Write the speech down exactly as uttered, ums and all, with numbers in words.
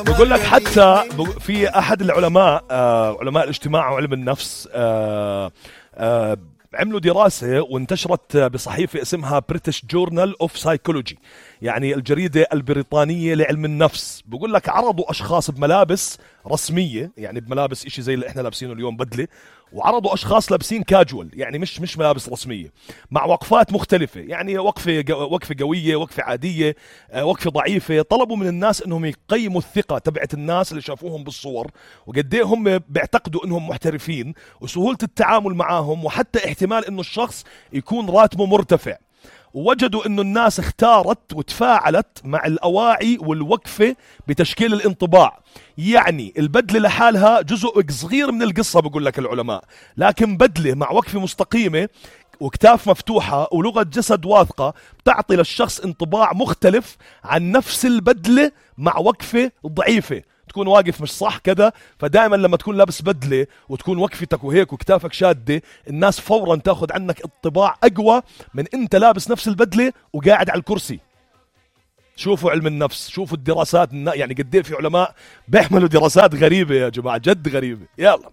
بقول لك حتى في أحد العلماء آه علماء الاجتماع وعلم النفس آه آه عملوا دراسة وانتشرت بصحيفة اسمها British Journal of Psychology، يعني الجريدة البريطانية لعلم النفس. بقول لك عرضوا أشخاص بملابس رسمية، يعني بملابس إشي زي اللي إحنا لابسينه اليوم بدلة، وعرضوا أشخاص لابسين كاجوال، يعني مش مش ملابس رسمية، مع وقفات مختلفة، يعني وقفة وقفة قوية، وقفة عادية، وقفة ضعيفة. طلبوا من الناس إنهم يقيموا الثقة تبعت الناس اللي شافوهم بالصور، وقديه هم بيعتقدوا إنهم محترفين، وسهولة التعامل معاهم، وحتى احتمال إنه الشخص يكون راتبه مرتفع. ووجدوا إنه الناس اختارت وتفاعلت مع الأواعي والوقفة بتشكيل الانطباع. يعني البدلة لحالها جزء صغير من القصة بقول لك العلماء، لكن بدلة مع وقفة مستقيمة وكتاف مفتوحة ولغة جسد واثقة بتعطي للشخص انطباع مختلف عن نفس البدلة مع وقفة ضعيفة، تكون واقف مش صح كذا. فدائما لما تكون لابس بدلة وتكون وقفتك وهيك وكتافك شادة، الناس فورا تاخد عنك انطباع أقوى من انت لابس نفس البدلة وقاعد على الكرسي. شوفوا علم النفس، شوفوا الدراسات، يعني قد ايه في علماء بيعملوا دراسات غريبة يا جماعة، جد غريبة. يلا